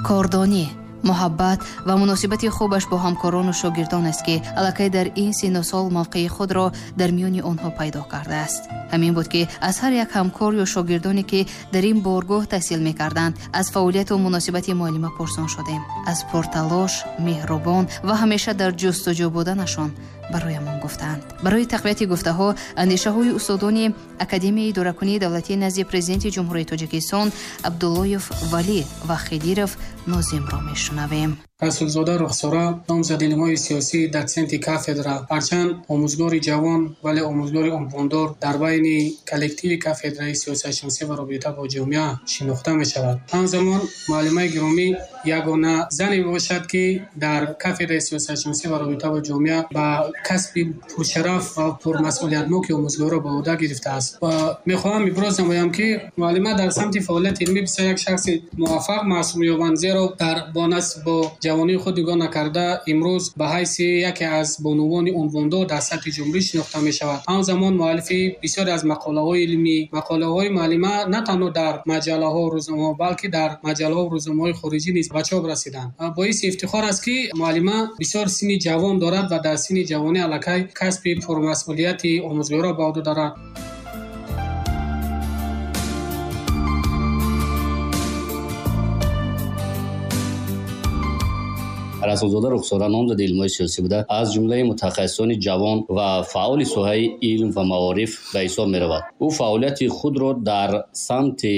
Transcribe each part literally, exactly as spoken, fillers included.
Кордонӣ, муҳаббат ва муносибати хубаш бо ҳамкорону шогирдон аст, ки аллакай дар ин синну сол мавқеи худро дар миёни онҳо пайдо кардааст. Ҳамин буд, ки аз ҳар як ҳамкор ё шогирдоне, ки дар ин боргоҳ таҳсил мекарданд, аз фаъолияту муносибати муаллима пурсон шудем. Аз пурталош, меҳрубон ва ҳамеша дар ҷустуҷӯ буданашон бароямон гуфтанд. Барои тақвияти гуфтаҳо андешаҳои устодони Академияи идоракунии давлатии назди Президенти Ҷумҳурии Тоҷикистон Абдуллоев Валӣ ва Хидиров Нозимро мешунавем. Расулзода Рухсора, номзади илмҳои сиёсӣ, дотсенти кафедра, ҳарчанд омӯзгори ҷавон, вале омӯзгори унвондор дар байни коллективи кафедраи сиёсатшиносӣ ва робита бо ҷомеа шинохта мешавад. Ҳамзамон муаллимаи гиромӣ ягона зане мебошад, ки дар кафедраи сиёсатшиносӣ ва робита бо ҷомеа ба касби пуршараф ва пурмасъулиятноки омӯзгорро ба уҳда гирифтааст. Ва мехоҳам иброз намоям, ки муаллима дар самти фаъолияти илмӣ бисёр як шахси муваффақ маҳсуб меёбанд, зеро дар бо насб бо ҷавонии худ нигоҳ накарда имрӯз ба ҳайси яке аз бонувони унвондор дар сатҳи ҷумҳурӣ шинохта мешавад. Ҳамзамон муаллифи бисёре аз мақолаҳои илмӣ, мақолаҳои муаллима на танҳо дар маҷаллаҳо, рӯзномаҳо, балки дар маҷаллаҳо, рӯзномаҳои хориҷӣ низ ба чоп расиданд. Боиси ифтихор аст, ки муаллима бисёр синни ҷавон дорад ва дар синни ҷавонӣ аллакай касби пурмасъулияти омӯзгорро ба уҳда дорад. Расулзода Рухсора номзади илмҳои сиёсӣ буда, аз ҷумлаи мутахассисони ҷавон ва фаъоли соҳаи илм ва маориф ба ҳисоб меравад. Ӯ фаъолияти худро дар самти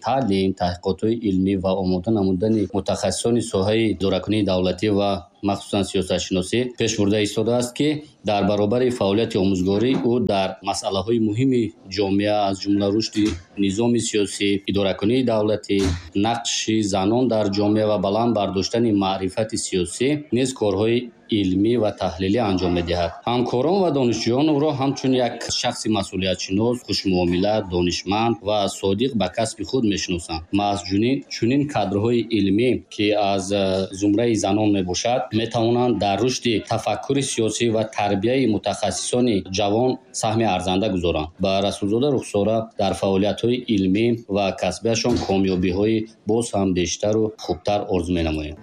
таълим, таҳқиқотҳои илмӣ ва омода намудани мутахассисони соҳаи идоракунии давлатӣ ва махсусан сиёсатшиносӣ пеш бурда истодааст, ки дар баробари фаъолияти омӯзгорӣ ӯ дар масъалаҳои муҳими ҷомеа, аз ҷумла рушди низоми сиёсӣ, идоракунии давлатӣ, нақши занон дар ҷомеа ва баланд бардоштани маърифати сиёсӣ низ корҳои илмӣ ва таҳлилӣ анҷом медиҳад. Ҳамкорон ва донишҷӯён ӯро ҳамчун як шахси масъулиятшинос, хушмуомила, донишманд ва содиқ ба касби худ мешиносанд. Маҳз чунин кадрҳои илмӣ, ки аз зумраи занон мебошад, метавонанд дар рушди тафаккури сиёсӣ ва тарбияи мутахассисони ҷавон саҳми арзанда гузоранд. Ба Расулзода Рухсора дар фаъолиятҳои илмӣ ва касбиашон комёбиҳои боз ҳам бештару хубтар орзу менамоем.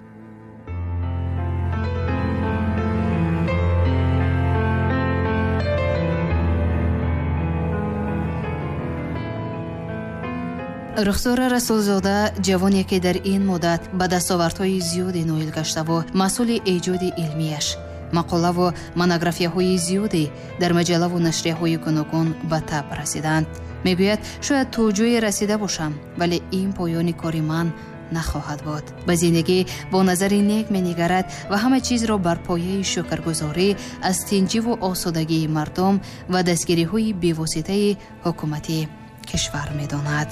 Рухсора Расулзода ҷавоне, ки дар ин муддат ба дастовардҳои зиёде ноил гаштаву масъули эҷоди илмияш, мақолаву монографияҳои зиёде дар маҷаллаву нашрияҳои гуногун ба таб расиданд. Мегӯяд, шояд то ҷое расида бошам, вале ин поёни кори ман нахоҳад буд. Ба зиндагӣ бо назари нек менигарад ва ҳама чизро бар пояи шукргузорӣ аз тинҷиву осудагии мардум ва дастгириҳои бевоситаи ҳукумати кишвар медонад.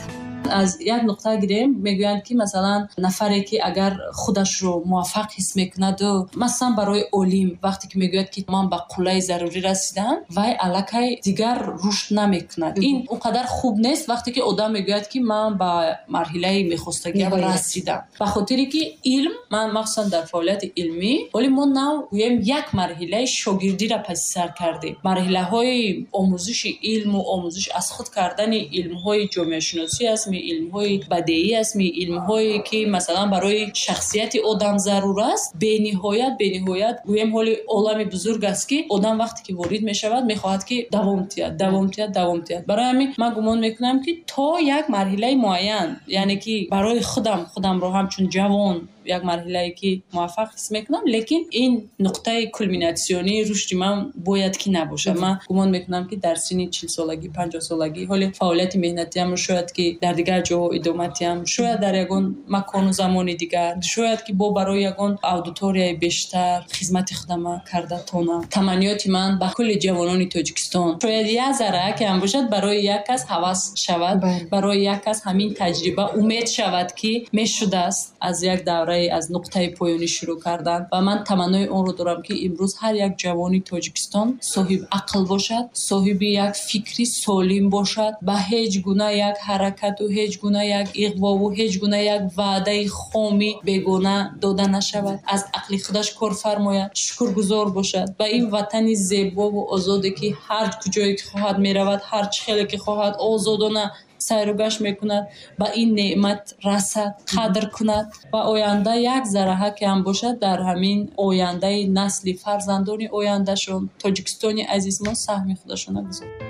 Аз як нуқта гирем, мегӯянд, ки масалан нафаре, ки агар худашро муваффақ ҳис мекунаду масалан барои олим вақте ки мегӯяд, ки ман ба қуллаи зарурӣ расидам, вай аллакай дигар рушд намекунад. Ин он қадар хуб нест вақте ки одам мегӯяд, ки ман ба марҳилаи мехостагиам расидам. Ба хотире ки илм, ман махсусан дар фаъолияти илмӣ, вале мо нав гӯем як марҳилаи шогирдиро паси сар кардем. Марҳилаҳои омӯзиши илму омӯзиш аз худ кардани илмҳои ҷомеашиносӣ аст, илмҳои бадеӣ аст, илмҳое ки масалан барои шахсияти одам зарур аст. Бениҳоят, бениҳоят гӯем ҳоли олами бузург аст, ки одам вақте ки ворид мешавад, мехоҳад ки давом диҳад, давом диҳад, давом диҳад. Барои ҳамин ман гумон мекунам, ки то як марҳилаи муайян, яъне ки барои худам, худамро ҳамчун ҷавон як марҳилае ки муваффақ ҳис мекунам, лекин ин нуқтаи кулминатсионии рушди ман бояд ки набошад. Ман гумон мекунам, ки дар синни чилсолагӣ, панҷоҳсолагӣ ҳоли фаъолияти меҳнатиамро шояд ки дар дигар ҷоҳо идома диҳам, шояд дар ягон макону замони дигар, шояд ки бо барои ягон аудиторияи бештар хизмати худама карда тонам. Таманниёти ман ба кулли ҷавонони Тоҷикистон, шояд як зарра ки ҳам бошад, барои як кас ҳавас шавад, барои як кас ҳамин таҷриба умед шавад, ки мешудааст аз як давра аз нуқтаи поёнӣ шурӯъ кардан. Ва ман таманнои онро дорам, ки имрӯз ҳар як ҷавони Тоҷикистон соҳиби ақл бошад, соҳиби як фикри солим бошад, ба ҳеҷ гуна як ҳаракату ҳеҷ гуна як иғвову ҳеҷ гуна як ваъдаи хоми бегона дода нашавад, аз ақли худаш кор фармояд, шукргузор бошад ба ин ватани зебову озоде, ки ҳар куҷое ки хоҳад меравад, ҳар чӣ хеле ки хоҳад озодона Сайру гашт мекунад, ба ин неъмат расад, қадр кунад ва оянда як зарраҳа ки ҳам бошад, дар ҳамин ояндаи насли фарзандони ояндашон, Тоҷикистони азиз мо саҳми худашона гузорад.